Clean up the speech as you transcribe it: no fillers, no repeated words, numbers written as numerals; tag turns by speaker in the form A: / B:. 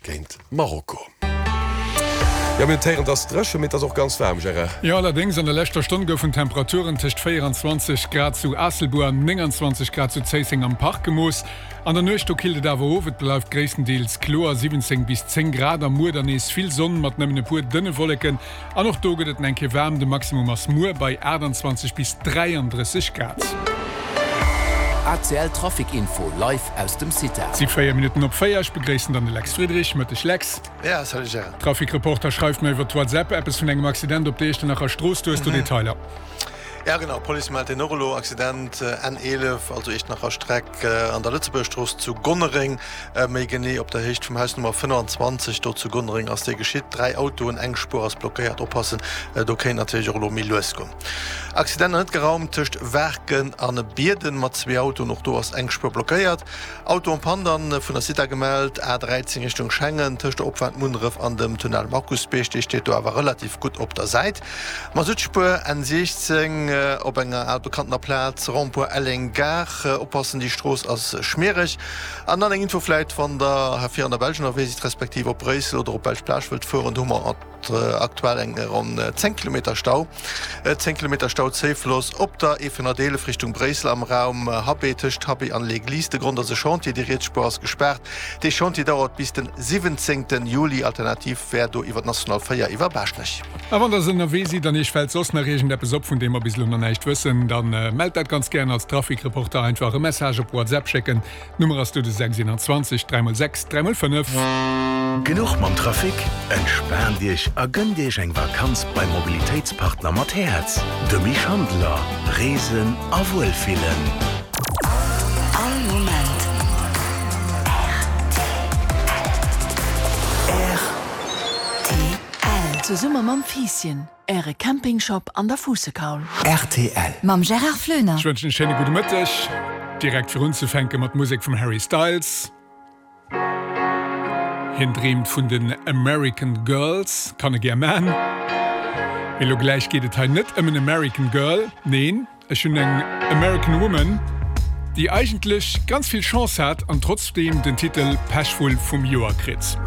A: Géint Marokko. Jo, mir hunn d'Héieren, et ass dréchen, mee et ass och ganz waarm, Gérard.
B: Jo, allerdéngs, an der leschter Stonn goufen Temperaturen tëscht 24 Grad zu Aasselbuer an 29 Grad zu Zéisseng am Park gemooss. An der Nuecht do killt et awer of, et bleift gréisstendeels kloer, 17 bis 10 Grad, a muer dann nees vill Sonn mat nëmmen e puer dënne Wolleken. An och do gëtt et eng Kéier waarm, de Maximum ass muer bei 28 bis 33 Grad.
C: ACL Trafic Info live aus dem CITA.
B: Et si 4 Minutten op 4. Ech begréissen dann de Lex Friedrich. Mëtteg Lex.
D: Ja, salut Gérard.
B: Trafic Reporter schreift mer iwwer d'WhatsApp eppes vun engem Accident op der Iechternacher Strooss. Du hues do Detailer.
D: Ja genau, d'Police mellt deen och elo, Accident N11, also Iechternacher Streck an der Lëtzebuerger Strooss zu Gonnereng, méi genee op der Héicht vum Haus Nummer 25. Do zu Gonnereng ass dee geschitt. 3 Autoen, eng Spuer ass blockéiert. Oppassen, do kéint natierlech och elo méi lues goen. Accident net geraumt tëscht Waarken an Bierden mat zwee Autoen, och do ass eng Spuer blockéiert. Auto en panne dann vun der Cita gemellt, A 13 Richtung Schengen, tëscht der Opfaart Munneref an dem Tunnel Markusbierg, dee steet do awer relativ gutt op der Säit. Masuttspuer N 16 op enger al bekanntener Plaz, Rond-point Elleng Gare, oppassen déi Strooss ass schmiereg. An dann eng Info vläit, wann der hei vir an der Belsch ënnerwee sidd, respektiv op Bréissel oder op d'Belsch Plage wëllt fueren, do hu mer Aktuell eng ronn 10 Kilometer Stau. 10 Kilometer Stau Zéifloss op der E411 Richtung Bréissel am Raum Habé, tëscht Habé an L'Église. De Grond ass e Chantier, déi riets Spuer ass gespaart. Dee Chantier dauert bis den 17 Juli. Alternativ wär do iwwer d'National 4 iwwer Baaschtnech.
B: A wann der ënnerwee sidd an iech fält soss nach iergendeppes op, vun deem mer bis elo nach näischt wëssen, dann mellt dat ganz gären als Trafikreporter. Einfach e Message op WhatsApp schécken. D'Nummer ass do de 6 21 3 x 6 3 x 5.
C: Genuch mam Trafic? Entspaant Iech a gënnt Iech eng Vakanz beim Mobilitéitspartner mat Häerz, dem Misch Handeler. Reesen a Wuelfillen.
E: All Moment rtl. Zesumme mam Fiisschen. Äre Campingshop an der Fuussekaul.
C: Rtl.
E: Mam Gérard Floener.
B: Ech wënschen e schéine gudde Mëtteg. Direkt fir unzefänke mat Musek vum Harry Styles. Hien dreemt vun den American Girls, kann e gär man. Mee lo gläich geet et hei net ëm en American Girl, neen, ech hunn eng American Woman, déi eigentlech ganz vill Chance hat an trotzdeem den Titel Pechvull vum Joer kritt.